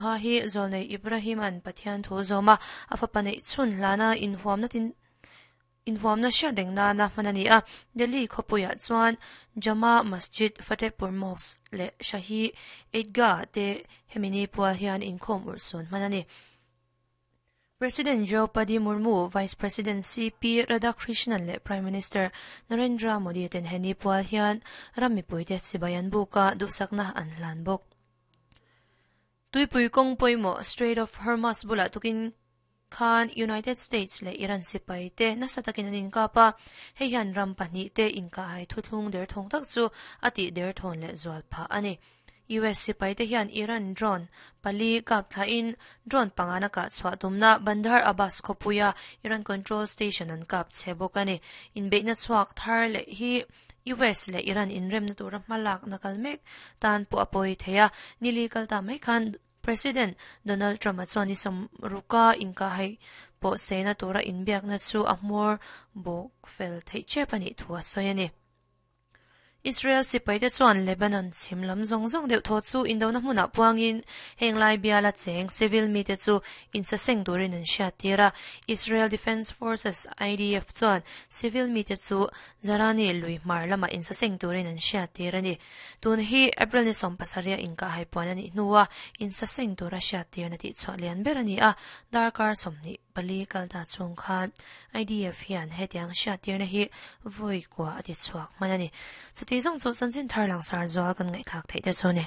Ha hi Zawlnei Ibrahim-a'n Pathian thu zawma a fapa neih chhun hlana inhuamna tin inhuamna hriat reng nana hman a ni a. Delhi khawpuiah chuan Jama Masjid, Fatehpur Mosque leh Shahi Eidgah te hemi ni pual hian inkhawm urhsun hman a ni. President Draupadi Murmu, Vice President CP Radhakrishnan leh Prime Minister Narendra Modi ten he ni pual hian ram mipuite chibai an buk a, duhsakna an hlan bawk. Tuipui kawng pawimawh Strait of Hormuz bulah tukin khan United States leh Iran sipai te nasa takin an inkap a, hei hian ram pahnihte inkahhai thuthlung derthawng tak chu a tih derthawn leh zual phah a ni. US sipaite hian Iran drone pali kap thlahin drone pangana kah chhuah tumna Bandar Abbas khawpuia Iran control station an kap chhe bawk a ni. Inbeihna chhuak thar leh hi US leh Iran inremna tura hmalakna kal mek tan pawh a pawi thei a, nili kal ta mai khan President Donald Trump-a chuan ni sawmruka inkahhai pawh seina tura inbiakna chu a hmawr bawk fel theih tep a nih thu a sawi a ni. Israel sipaite chuan Lebanon chhim lam zawng zawng deuh thaw chu indona hmunah puangin heng lai biala cheng civil mite chu insaseng turin an hriattir a. Israel Defense Forces, IDF, chuan civil mite chu Zarani lui hmar lamah insaseng turin an hriattir a ni. Tun hi April ni 17 inkahhai puan a nih hnua insaseng tura hriattirna tihchhuah lian ber a ni a, darkar 20 pali kal ta chhung khan IDF hian hetiang hriattirna hi vawi kua a ti chhuak hman a ni. Chuti zawng chu chanchin thar langsar zual kan ngaihthlak theih te chu a ni.